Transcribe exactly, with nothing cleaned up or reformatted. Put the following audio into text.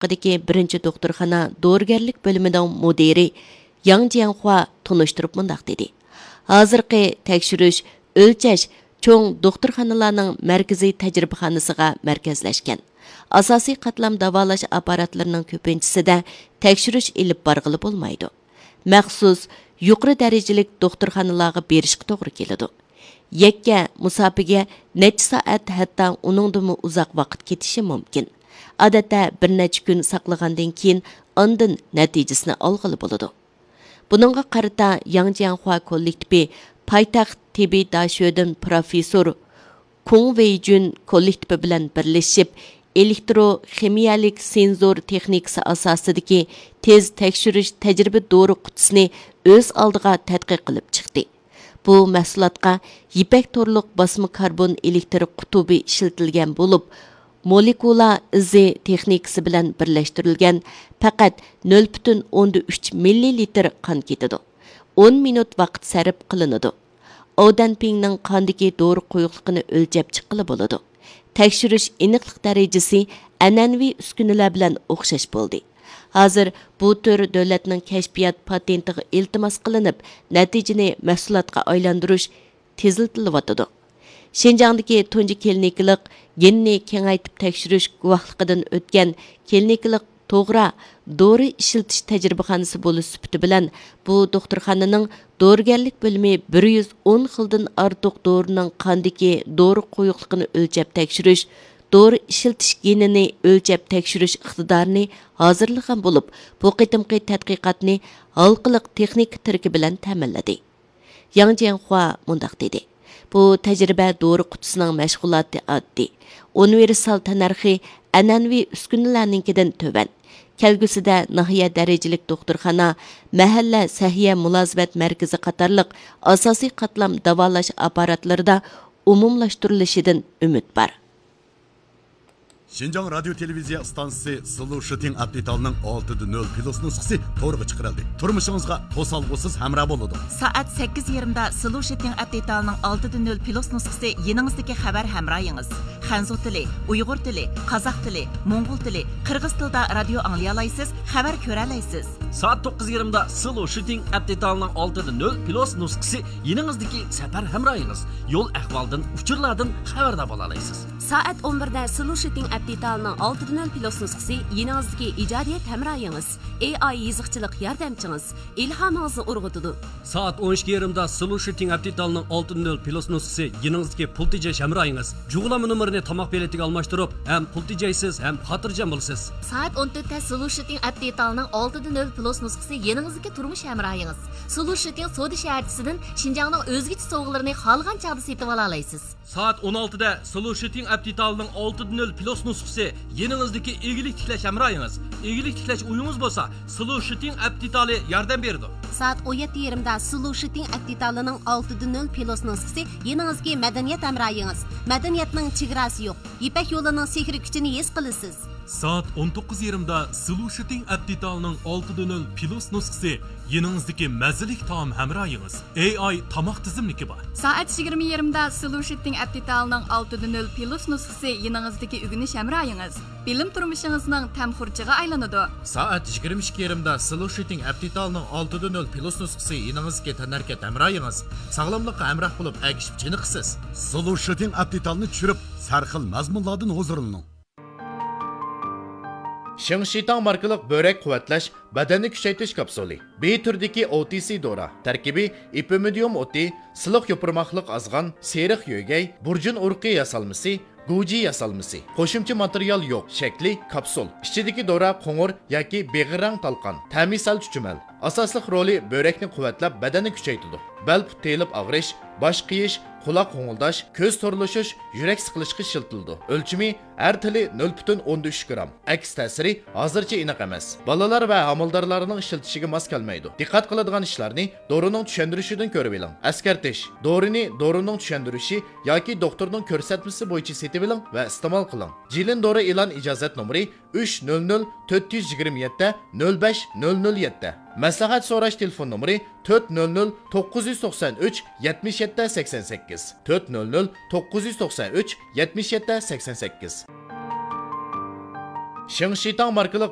دىكى بىرىنچى دوختۇرخانا دورىگەرلىك بۆلۈمىنىڭ مۇدىرى ياڭ جياڭخۇا تونۇشتۇرۇپ مۇنداق دېدى: ھازىرقى تەكشۈرۈش، ئۆلچەش چوڭ دوختۇرخانىلارنىڭ مەركىزىي تەجرىبىخانىسىغا مەركەزلەشكەن. ئاساسىي قاتلام داۋالاش ئاپپاراتلىرىنىڭ كۆپىنچىسىدە تەكشۈرۈش ئېلىپ بارغىلى بولمايدۇ. مەخسۇس يۇقىرى دەرىجىلىك دوختۇرخانىلارغا بېرىشقا توغرا كېلىدۇ. يەككە مۇساپىگە نەچچە سائەت، ھەتتا ئۇنىڭدىنمۇ ئۇزاق ۋاقىت كېتىشى مۇمكىن. ئادەتتە بىر نەچچە كۈن ساقلىغاندىن كېيىن ئاندىن نەتىجىسىنى ئالغىلى بولىدۇ. بۇنىڭغا قارىتا ياڭ جياڭخۇا كوللېكتىپى پايتەخت تېببىي داشۆدىن پروفېسسور كۇڭ ۋېيجۈن كوللېكتىپى بىلەن بىرلىشىپ، ئېلېكترو خىمىيەلىك سېنزور تېخنىكىسى ئاساسىدىكى تېز تەكشۈرۈش تەجرىبە دورا قۇتىسىنى ئۆز ئالدىغا تەتقىق قىلىپ چىقتى. بۇ مەھسۇلاتقا يىپەك تورلۇق باسما كاربون ئېلېكتر قۇتۇبى ئىشلىتىلگەن بولۇپ، مولېكۇلا ئىزى تېخنىكىسى بىلەن بىرلەشتۈرۈلگەن پەقەت نۆل پۈتۈن ئوندىن ئۈچ مىللىلىتىر قان كېتىدۇ. ئون مىنۇت ۋاقىت سەرپ قىلىنىدۇ. ئاۋدەنپىڭنىڭ قاندىكى دورا قويۇقلۇقىنى ئۆلچەپ چىققىلى بولىدۇ. تەكشۈرۈش ئېنىقلىق دەرىجىسى ئەنئەنىۋى ئۈسكۈنىلەر بىلەن ئوخشاش بولدى. ھازىر بۇ تۈر دۆلەتنىڭ كەشپىيات پاتېنتىغا ئىلتىماس قىلىنىپ، نەتىجىنى مەھسۇلاتقا ئايلاندۇرۇش تېزلىتىلىۋاتىدۇ. شىنجاڭدىكى تۇنجى كلىنىكىلىق گېننى كېڭەيتىپ تەكشۈرۈش گۇۋاھلىقىدىن ئۆتكەن كلىنىكىلىق توغرا دورا ئىشلىتىش تەجرىبىخانىسى بولۇش سۈپىتى بىلەن، بۇ دوختۇرخانىنىڭ دورىگەرلىك بۆلۈمى بىر يۈز ئون خىلدىن ئارتۇق دورىنىڭ قاندىكى دورا قويۇقلۇقىنى ئۆلچەپ تەكشۈرۈش، دورا ئىشلىتىش گېنىنى ئۆلچەپ تەكشۈرۈش ئىقتىدارىنى ھازىرلىغان بولۇپ، بۇ قېتىمقى تەتقىقاتنى ھالقىلىق تېخنىكا تىرىكى بىلەن تەمىنلىدى. ياڭ جياڭخۇا مۇنداق دېدى: بۇ تەجرىبە دورا قۇتىسىنىڭ مەشغۇلاتى ئاددىي، ئۇنىۋېرسال تەننەرخى ئەنئەنىۋى ئۈسكۈنىلەرنىڭكىدىن تۆۋەن. كەلگۈسىدە ناھىيە دەرىجىلىك دوختۇرخانا، مەھەللە سەھىيە مۇلازىمەت مەركىزى قاتارلىق ئاساسىي قاتلام داۋالاش ئاپپاراتلىرىدا ئومۇملاشتۇرۇلۇشىدىن ئۈمىد بار. شىنجاڭ رادىيو تېلېۋىزىيە ئىستانسىسى سلۇشىتىڭ ئەپ دېتالنىڭ ئالتىدە نۆل پلۇس نۇسخىسى تورغا چىقىرىلدى. تۇرمۇشىڭىزغا توسالغۇسىز ھەمراھ بولىدۇ. سائەت سەككىز يېرىمدا سلۇشىتىڭ ئەپ دېتالنىڭ ئالتىدە نۆل پلۇس نۇسخىسى يېنىڭىزدىكى خەۋەر ھەمراھىڭىز. خەنزۇ تىلى، ئۇيغۇر تىلى، قازاق تىلى، موڭغۇل تىلى، قىرغىز تىلىدا رادىيو ئاڭلىيالايسىز، خەۋەر كۆرەلەيسىز. سائەت توققۇز يېرىمدا سلۇشىتىڭ ئەپ دېتالنىڭ ئالتىدە نۆل پلۇس نۇسخىسى يېنىڭىزدىكى سەپەر ھەمراھىڭىز. يول ئەھۋالدىن، ئۇچۇرلاردىن خەۋەردار بولالايسىز. سائەت ئون بىردە سلۇشىتىڭ ئەپ دېتالىنىڭ ئالتىدە نۆل پلۇس نۇسخىسى يېنىڭىزدىكى ئىجادىيەت ھەمراھىڭىز، ئېي ئاي يېزىقچىلىق ياردەمچىڭىز، ئىلھامىڭىزنى ئۇرغۇتىدۇ. سائەت ئون ئىككى يېرىمدا سلۇشىتىڭ ئەپ دېتالنىڭ ئالتىدە نۆل پلۇس نۇسخىسى يېنىڭىزدىكى پۇل تېجەش ھەمراھىڭىز. جۇغلانما نومۇرىنى تاماق بېلىتىگە ئالماشتۇرۇپ، ھەم پۇل تېجەيسىز، ھەم خاتىرجەم بولىسىز. سائەت ئون تۆتتە سلۇشىتىڭ ئەپ دېتالنىڭ ئالتىدە نۆل پلۇس نۇسخىسى يېنىڭىزدىكى تۇرمۇش ھەمراھىڭىز. سلۇشىتىڭ سودا شەھەرچىسىدىن شىنجاڭنىڭ ئۆزگىچە سوۋغىلىرىنى خالىغان چاغدا سېتىۋالالايسىز. سائەت ئون ئالتىدە سلۇشىتىڭ ئەپ دېتالىنىڭ ئالتىدە نۆل پلۇس نۇسخىسى يېنىڭىزدىكى ئىگىلىك تىكلەش ھەمراھىڭىز. ئىگىلىك تىكلەش ئويىڭىز بولسا، سلۇشىتىڭ ئەپ دېتالى ياردەم بېرىدۇ. سائەت ئون يەتتە يېرىمدا سلۇشىتىڭ ئەپ دېتالىنىڭ ئالتىدە نۆل پلۇس نۇسخىسى يېنىڭىزدىكى مەدەنىيەت ھەمراھىڭىز. مەدەنىيەتنىڭ چېگراسى يوق. يىپەك يولىنىڭ سېھرىي كۈچىنى ھېس قىلىسىز. سائەت ئون توققۇز يېرىمدا سلۇشىتىڭ ئەپ دېتالىنىڭ ئالتىدە نۆل پلۇس نۇسخىسى يېنىڭىزدىكى مەززىلىك تائام ھەمراھىڭىز. ئېي ئاي تاماق تىزىملىكى بار. سائەت يىگىرمە يېرىمدا سلۇشىتىڭ ئەپ دېتالىنىڭ ئالتىدە نۆل پلۇس نۇسخىسى يېنىڭىزدىكى ئۆگىنىش ھەمراھىڭىز. بىلىم تۇرمۇشىڭىزنىڭ تەم خۇرجىنىغا ئايلىنىدۇ. سائەت يىگىرمە ئىككى يېرىمدا سلۇشىتىڭ ئەپ دېتالىنىڭ ئالتىدە نۆل پلۇس نۇسخىسى يېنىڭىزدىكى تەنھەرىكەت ھەمراھىڭىز. ساغلاملىققا ھەمراھ بولۇپ، ئەگىشىپ چېنىقىسىز. سلۇشىتىڭ ئەپ دېتالىنى چۈشۈرۈپ، سەرخىل مەزمۇنلاردىن ھۇزۇرلىنىڭ. شىڭشىتاڭ ماركىلىق بۆرەك قۇۋۋەتلەش، بەدەننى كۈچەيتىش كاپسۇلى. بى تۈرىدىكى ئو تى سى دورا. تەركىبى ئېپىمىدىيۇم ئوتى، سىلىق يوپۇرماقلىق ئازغان، سېرىق يۆگەي، بۇرجۇن ئۇرۇقى ياسالمىسى، گۇجى ياسالمىسى. قوشۇمچە ماتېرىيال يوق. شەكلى كاپسۇل. ئىچىدىكى دورا قوڭۇر ياكى بېغىر رەڭ تالقان. تەمى سەل چۈچۈمەل. ئاساسلىق رولى بۆرەكنى قۇۋۋەتلەپ، بەدەننى كۈچەيتىدۇ. بەل پۇت تېيىلىپ ئاغرىش، باش قېيىش، قۇلاق غوڭۇلداش، كۆز تورلىشىش، يۈرەك سىقىلىشقا ئىشلىتىلىدۇ. ئۆلچىمى ھەر تىلى نۆل پۈتۈن ئوندىن ئۈچ گرام. ئەكس تەسىرى ھازىرچە ئېنىق ئەمەس. بالىلار ۋە ھامىلىدارلارنىڭ ئىشلىتىشىگە ماس كەلمەيدۇ. دىققەت قىلىدىغان ئىشلارنى دورىنىڭ چۈشەندۈرۈشىدىن كۆرۈۋېلىڭ. ئەسكەرتىش: دورىنى دورىنىڭ چۈشەندۈرۈشى ياكى دوختۇرنىڭ كۆرسەتمىسى بويىچە سېتىۋېلىڭ ۋە ئىستېمال قىلىڭ. جىلىن دورا ئېلان ئىجازەت نومۇرى ئۈچ نۆل نۆل تۆت يۈز يىگىرمە يەتتە نۆل بەش نۆل نۆل يەتتە. مەسلىھەت سوراش تېلېفون نومۇرى تۆت نۆل نۆل توققۇز يۈز توقسان ئۈچ يەتمىش يەتتە سەكسەن سەككىز، تۆت نۆل نۆل توققۇز يۈز توقسان ئۈچ يەتمىش يەتتە سەكسەن سەككىز. شېڭشىتاڭ ماركىلىق